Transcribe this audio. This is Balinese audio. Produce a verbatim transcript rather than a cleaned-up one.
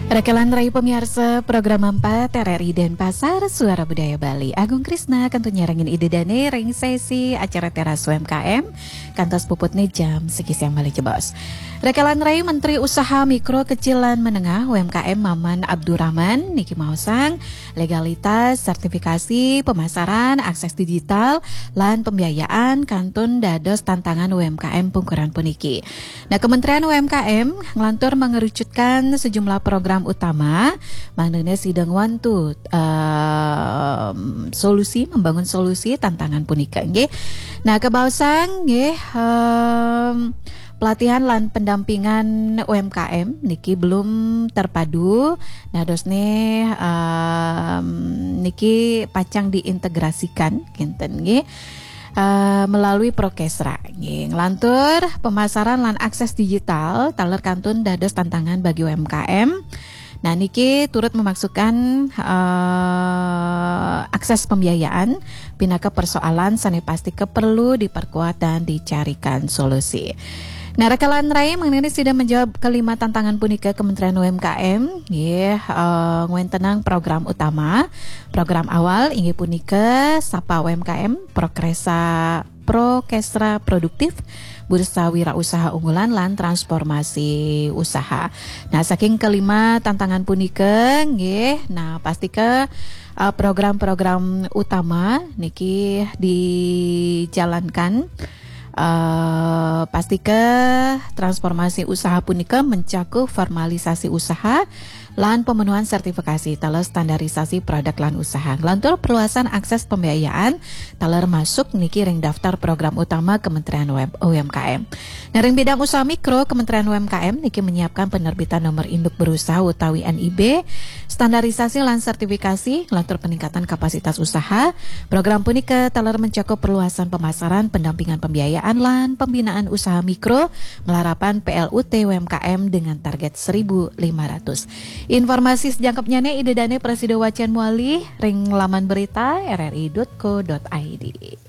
Rekelan rai pamiarsa program empat R R I Denpasar, Suara Budaya Bali. Agung Krisna kantun nyarengin Ida Dane ring sesi acara Teras U M K M, kantos puputne jam siki siang malih jebos. Rekelan rai, Menteri Usaha Mikro, Kecil lan Menengah U M K M Maman Abdurrahman niki maosang, legalitas, sertifikasi, pemasaran, akses digital, lan pembiayaan kantun dados tantangan U M K M pungkuran puniki. Nah, Kementerian U M K M nglantur mengerucutkan sejumlah program utama, mangdane sida ngwantu, em, solusi, membangun solusi tantangan punika, nggih. Nah, kabaosang, nggih, em, pelatihan lan pendampingan U M K M niki belum terpadu. Nah, dosne, em, niki pacang diintegrasikan, kinten, nggih. Eh, melalui Prokesra, nggih. Nglantur pemasaran lan akses digital taler kantun dados tantangan bagi U M K M. Nah, niki turut memasukkan, eh, akses pembiayaan pinaka persoalan sane pastika perlu diperkuat dan dicarikan solusi. Nah, rekelan rai, mangdane sida menjawab kelima tantangan punika, Kementerian U M K M nggih, eh, ngwentenang program utama. Program awal inggih punika Sapa U M K M, Prokesra, Prokesra Produktif, Bursa Wirausaha Unggulan, lan Transformasi Usaha. Nah, saking kelima tantangan punika, nggih, nah, pastika, eh, program-program utama niki dijalankan. Eh, pastika transformasi usaha punika mencakup formalisasi usaha lan pemenuhan sertifikasi taler standarisasi produk lan usaha. Nglantur perluasan akses pembiayaan taler masuk niki ring daftar program utama Kementerian U M K M. Nah, ring bidang usaha mikro, Kementerian U M K M niki menyiapkan penerbitan nomor induk berusaha utawi N I B, standarisasi lan sertifikasi, nglantur peningkatan kapasitas usaha. Program punika taler mencakup perluasan pemasaran, pendampingan pembiayaan, lan pembinaan usaha mikro, malarapan P L U T U M K M dengan target seribu lima ratus. Informasi sajangkepnyane Ida Dane prasida wacan malih ring laman berita R R I dot co dot I D.